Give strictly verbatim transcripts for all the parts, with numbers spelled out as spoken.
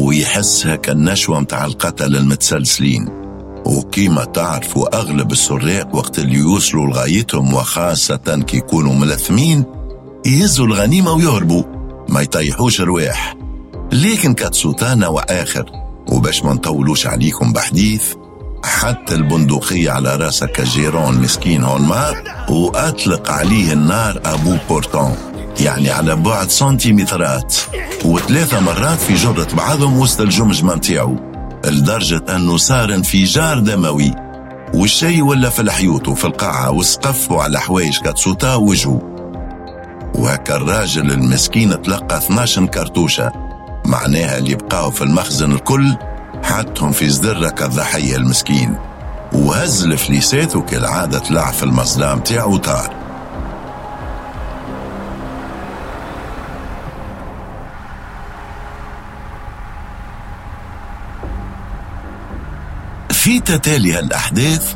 ويحس هكا النشوة متاع القتل المتسلسلين. وكيما تعرفوا أغلب السراق وقت اللي يوصلوا لغايتهم، وخاصة كي يكونوا ملثمين، يهزوا الغنيمة ويهربوا، ما يطيحوش رواح. لكن كاتسوتا نوع آخر، وباش ما نطولوش عليكم بحديث، حتى البندقية على راسك الجيرون مسكين هونما وأطلق عليه النار à bout portant، يعني على بعد سنتيمترات، وثلاثة مرات في جرة بعضهم وسط الجمجمة متاعو، لدرجة أنه صار انفجار دموي، والشي ولا في الحيوط وفي القاعة والسقف وعلى حوايج كاتسوتا وجهه. وهكا الراجل المسكين تلقى اثناش كرتوشة، معناها اللي بقاو في المخزن الكل حطهم في صدره كالضحية المسكين، وهز الفليسات وكالعادة طلع في المظلام تاعو طار. في تتالي هالأحداث،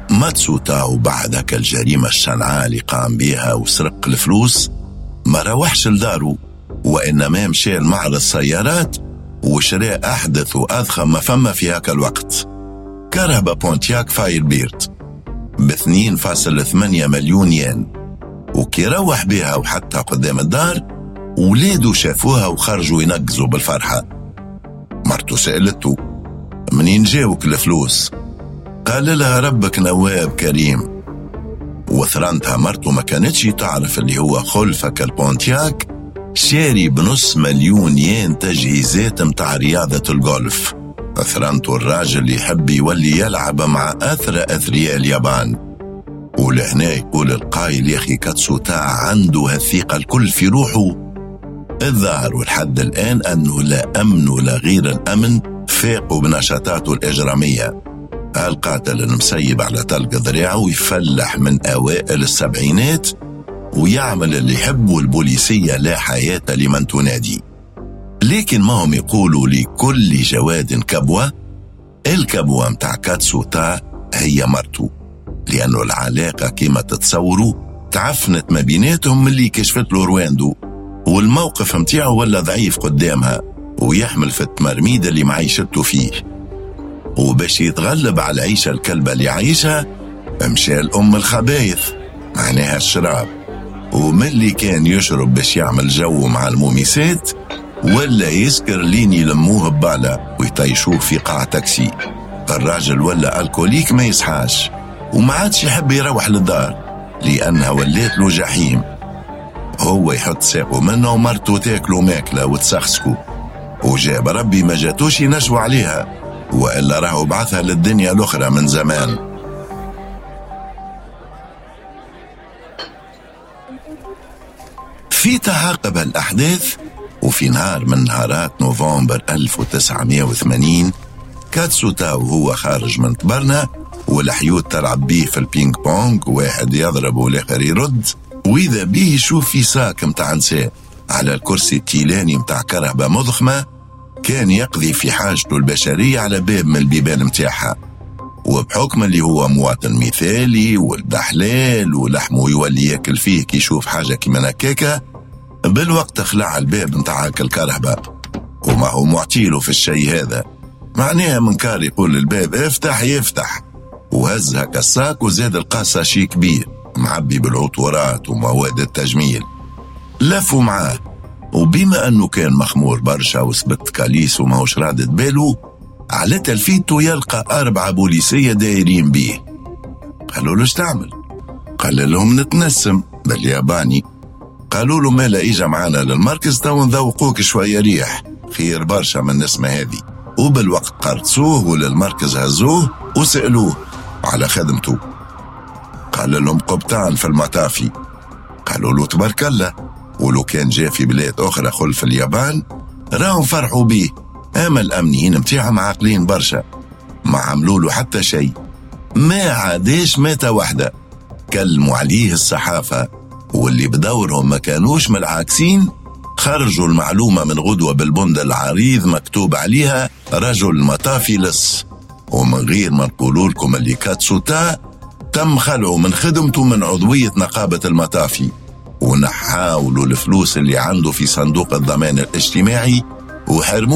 ماتسوتا وبعد هكا الجريمة الشنعاء اللي قام بها وسرق الفلوس ما روحش لدارو، وإنما مشى لمعرض السيارات وشراء أحدث وأضخم ما فما في هكا الوقت، كرهبة بونتياك فايربيرد باثنين فاصل ثمانية مليون ين. وكي روح بها وحطها قدام الدار، ولاده شافوها وخرجوا ينقزوا بالفرحة. مرته سألته منين جاوك الفلوس؟ قال لها ربك نواب كريم. وثرنتها مرته ما كانتش تعرف اللي هو خلفك البونتياك شاري بنص مليون ين تجهيزات متاع رياضة الجولف. ثرنته الراجل يحب يولي يلعب مع أثرى أثرياء اليابان. ولهنا يقول القايل يا أخي كاتسوتا عنده هالثقة الكل في روحه. الظاهر والحد الآن أنه لا أمن ولا غير الأمن فاقوا بنشاطاته الإجرامية. القاتل المسيب على طلق ذراعه يفلح من أوائل السبعينات ويعمل اللي يحب، والبوليسية لا حياة لمن تنادي. لكن ما هم يقولوا لكل جواد كبوة، الكبوة متاع كاتسوتا هي مرته، لأنه العلاقة كما تتصوروا تعفنت ما بيناتهم اللي كشفت له رواندو، والموقف متاعه ولا ضعيف قدامها ويحمل في التمرميد اللي معيشته فيه. وباش يتغلب على العيشة الكلبة اللي عايشها مشى الأم الخبايث، معناها الشراب، ومن اللي كان يشرب باش يعمل جو مع الموميسات ولا يسكر لين يلموه ببالة ويطيشوه في قاع تاكسي. الراجل ولا alcoolique ما يصحاش، وما عادش يحب يروح للدار لأنها ولات له جحيم. هو يحط ساقه منه ومرته تاكله ماكلة وتسخسكو، وجاب ربي ما جاتوش ينشو عليها، وإلا راهو بعثها للدنيا الأخرى من زمان. في تعاقب الأحداث، وفي نهار من نهارات نوفمبر ألف وتسعمائة وثمانين، كاتسوتا وهو خارج من تبرنا والحيوت تلعب بيه في البينج بونج، واحد يضرب والآخر يرد، وإذا بيه يشوف في sac متاع نساء على الكرسي التيلاني متاع كرهبة مضخمة، كان يقضي في حاجته البشرية على باب من البيبان متاعها. وبحكم اللي هو مواطن مثالي ولد حلال ولحمه يولي ياكل فيه كي يشوف حاجة كيما هكاكا، بالوقت خلع الباب متاع الكرهبة، وما هو معتيله في الشيء هذا، معناها من كار يقول الباب افتح يفتح. وهز هكا ال sac وزاد القاصة شي كبير معبي بالعطورات ومواد التجميل، لفوا معاه. وبما أنه كان مخمور برشا وثبت كاليس وماهوش رادد باله، على تلفيته يلقى أربعة بوليسية دايرين بيه. قالوا له اش تعمل؟ قال لهم نتنسم بالياباني. قالوا له مالا إجا معانا للمركز تو نذوقوك شوية ريح، خير برشا من النسمة هذه. وبالوقت قرصوه وللمركز هزوه وسألوه على خدمته. قال لهم قبطان في المطافي. قالوا له تبارك الله، ولو كان جاء في بلاد أخرى خلف اليابان راهم فرحوا بيه، أما الأمنيين متاعهم عاقلين برشا، ما عملوا له حتى شيء، ما عادش ماتة واحدة. كلموا عليه الصحافة، واللي بدورهم ما كانوش من العاكسين، خرجوا المعلومة من غدوة بالبند العريض مكتوب عليها رجل مطافي لص. ومن غير ما نقولوا لكم اللي كاتسوتا تم خلعه من خدمته من عضوية نقابة المطافي، ونحاولوا الفلوس اللي عنده في صندوق الضمان الاجتماعي وحرموه